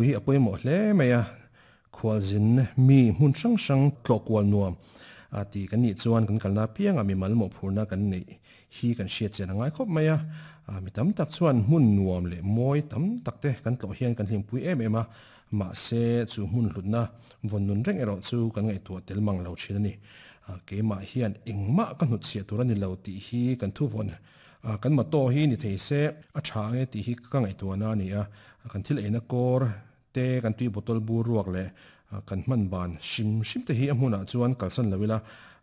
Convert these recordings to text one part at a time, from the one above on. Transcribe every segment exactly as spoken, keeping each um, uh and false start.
Hi a pawimawh hle mai a, khualzin mi hmun hrang hrang tlawh kual nuam a ti kan nih chuan kan kalna apianga mimal mawhphurhna kan neih hi kan hriat chian a ngai khawp mai a. Mi tam tak chuan hmun nuam leh mawi tam tak te kan tlawh hian kan hlimpui em em a, mahse chu hmun hlutna vawn nun reng erawh chu kan ngaihtuah tel mang lo thin a ni. Keimah hian engmah ka hnutchhiah tur a ni lo tih hi kan thu vawn kan motto hi ni thei se a tha nge tih hi ka ngaihtuahna a ni a. Kan thil eina kawr te kan tui bottle bur ruak leh kan hman ban hrim hrim te hi a hmunah chuan kalsan lo ila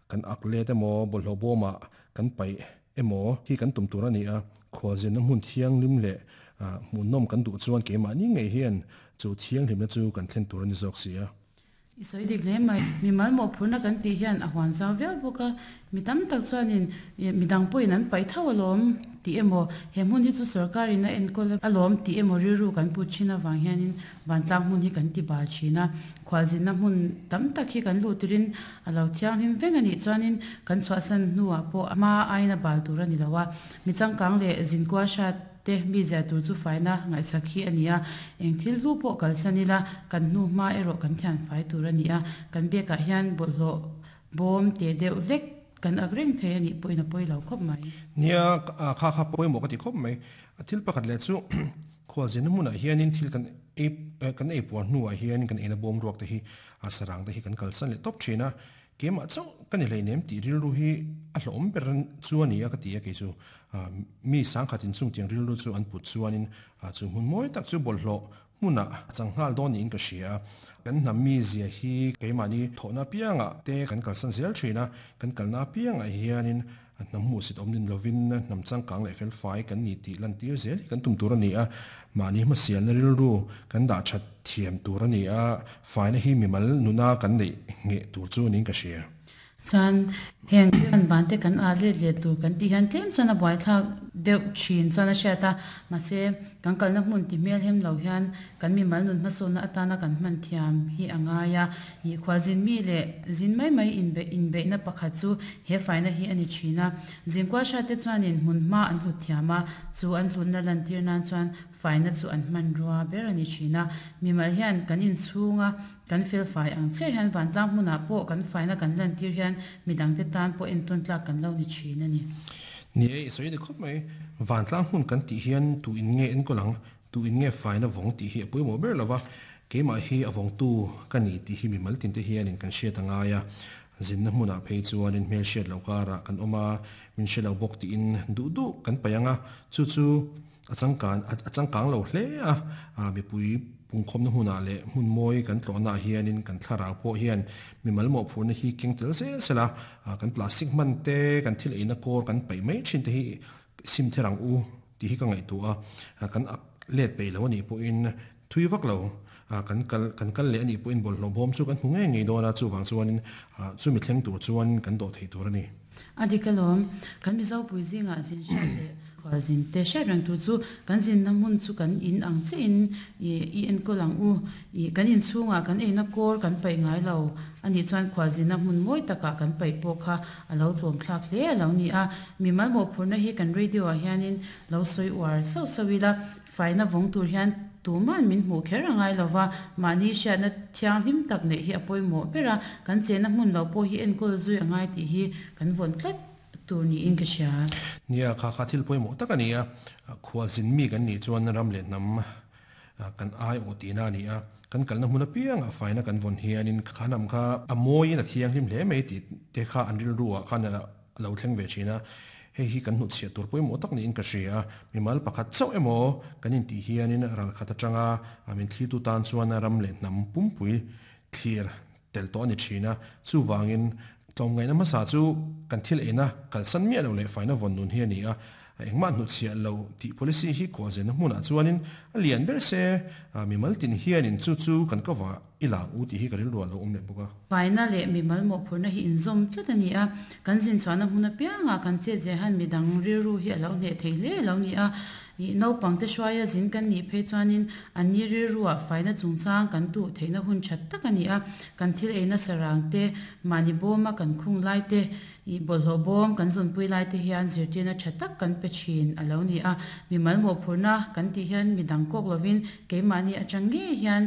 kan ak let emaw bawlhhlawh bawmah kan paih emaw hi kan tum tur a ni a. Khualzinna hmun thianghlim leh hmuhnawm kan duh chuan keimahni ngei hian chu thianghlimna chu kan thlen tur a ni zawk si a. I sawi dik hle mai. Mimal mawhphurhna kan tih hian a huan zau viau bawk a, mi tam tak chuanin midang pawhin an paih tho alawm tih emaw, he hmun hi chu sorkarin a enkawl alawm tih emaw rilru kan put thin avang hianin vantlang hmun hi kan ti bal thin a. Khualzinna hmun tam tak hi kan luh tirin a lo thianghlim veng a nih chuanin kan chhuahsan hnuah pawh a hma aiin a bal tur a ni lo a. Mi changkang leh zinkual hrat te mi zia tur chu faina ngaihsak hi a ni a, eng thil hlu pawh kalsan ila kan hnu hma erawh kan thian fai tur a ni a. Kan biakah hian bawlhhlawh bawm te deuh hlek kan ak reng thei a nih pawhin a pawi lo khawp mai. Nia, kha kha pawimawh ka ti khawp mai. A thil pakhat leh chu khualzinna hmunah hianin thil kan ei kan ei puar hnuah hian kan eina bawm ruak te hi a sarang te hi kan kalsan leh tawp thin a. Keimah chauh ka ni hleinem tih rilru hi a hlawm ber chu a ni a ka ti a kei chu. Mi sangkhatin chungtiang rilru chu an put chuanin chu hmun mawi tak chu bawlhhlawh hmunah a chang nghal dawn niin ka hria a. Kan hnam mi zia hi keimahni thawhna apiangah te kan kalsan zel thin a, kan kalna apiangah hianin hnam hmuhsit awm nin lovin hnam changkang leh felfai kan ni tih lantir zel hi kan tum tur a ni a. Mahni hmasialna rilru kan dah that thiam tur a ni a, faina hi mimal nuna kan neih ngeh tur chu niin ka hria. Chuan heng kan ban te kan a let let tur kan tih hian tlem chuan a buaithlak deuh thin chuan a hriat a, mahse kan kalna hmun ti hmel hem lo hian kan mimal nun hmasawnna atana kan hman thiam hi a ngai a. I khualzin mi leh zin mai mai inbe inbeihna pakhat chu he faina hi a ni thin a. Zinkual hrat te chuanin hmun hma an hlut thiam a, chu an hlutna lantir nan chuan faina chu an hman rua ber a ni thin a. Mimal hian kan inchhunga kan felfai ang chiah hian vantlang hmunah pawh kan faina kan lantir hian midang te tan pawh entawn tlak kan lo ni thin a ni. Ni e, i sawi dik khawp mai. Vantlang hmun kan tih hian tu in nge enkawl ang, tu in nge faina vawng tih hi a pawimawh ber lova, keimah hi a vawngtu ka ni tih hi mimal tin te hianin kan hriat a ngai a. Zinna hmunah phei chuanin hmel hriat loh karah kan awm a, min hre lo bawk tiin duh duh kan paih ang a, chu chu a changkan a changkang lo hle a. Mipui pungkhawmna hmunah leh hmun mawi kan tlawhnaah hianin kan thlarau pawh hian mimal mawhphurhna hi keng tel zel sela, kan plastic hman te, kan thil eina kawr kan paih mai thin te hi sim ther ang u tih hi ka ngaihtuah a. Kan ak let peih lo a nih pawhin thui vak lo, kan kal kan kal leh a nih pawhin bawlhhlawh bawm chu kan hmu ngei ngei dawn a, chuvang chuanin chumi thleng tur chuan kan dawh thei tur a ni. A dik alawm, kan Mizopui zingah zin hriat leh khualzin te hriat reng tur chu kan zinna hmun chu kan in ang chiahin i enkawl ang u. I kan inchhungah kan eina kawr kan paih ngai lo a nih chuan khualzinna hmun mawi takah kan paih pawh kha a lo tlawmthlak hle a lo ni a. Mimal mawhphurhna hi kan radio ah hianin lo sawi uar sauh sauh ila, faina vawng tur hian tuman min hmuh kher a ngai lova, mahni hriatna thianghlim tak neih hi a pawimawh ber a, kan chenna hmun lo pawh hi enkawl zui a ngai tih hi kan vawn tlat tur niin ka hria. Nia, kha kha thil pawimawh tak a ni a, khualzin mi kan nih chuan ram leh hnam kan ai awh tihna a ni a, kan kalna hmun apiangah faina kan vawn hianin kha hnam kha a mawiin a thianghlim hle mai tih te kha an rilruah khan a lo thleng ve thin a. Hei hi kan hnutchhiah tur pawimawh tak niin ka hria a, mimal pakhat chauh emaw kan intih hianin ralkhat atanga min thlirtu tan chuan ram leh hnam pumpui thlir tel tawh a ni thin a. Chuvangin tlawmngaihna hmasa chu kan thil eina kalsan miah lo leh faina vawn nun hi a ni a, engmah hnutchhiah lo tih policy hi khualzenna hmunah chuanin a lian ber se, mimal tin hianin chu chu kan ka va I la ang u tih hi ka rilruah a lo awm leh bawk a. Faina leh mimal mawhphurhna hi inzawm tlat a ni a, kan zin chhuahna hmun apiangah kan chet zeh hian midang rilru hi a lo hneh thei hle a lo ni a. Ih naupangte hruaia zin kan nih phei chuanin anni rilruah faina chungchang kan tuh theihna hun that tak a ni a. Kan thil ei nasa rang te, mahni bawma kan khung lai te, ih bawlhhlawh bawm kan zawnpui lai te hian zirtirna tha tak kan pe thin a lo ni a. Mimal mawhphurhna kan tih hian midang kawk lovin keimahni atang ngei hian